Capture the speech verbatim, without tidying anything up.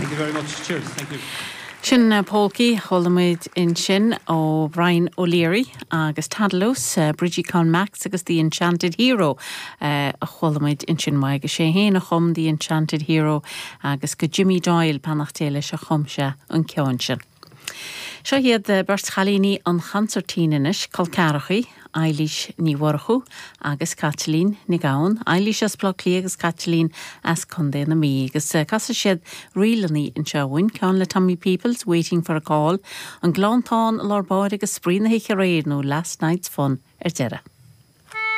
Thank you very much. Cheers. Thank you. Sin uh, polcaí chuala muid ansin ó Brian O'Leary agus Tadelós, uh, Bridgie Con Max agus The Enchanted Hero uh, a chuala muid ansin mai go sé héana chum The Enchanted Hero agus go Jimmy Doyle beannacht Dé leis a chum sé an ceann sin. Seo iad beirt chailíní an chansairtín anois col ceathracha, Eilís Ní Mhurchú agus Caitlín Ní Ghabhann, Eilís as Bleá Cliath agus Caitlín as Contae na Mí, agus eh, casfaidh siad ríleanna anseo dúinn ceann le Tommy Peoples waiting for a call, an Gleanntán lár báire agus spraoi na hoíche aréir nó last night's fun ar deireadh.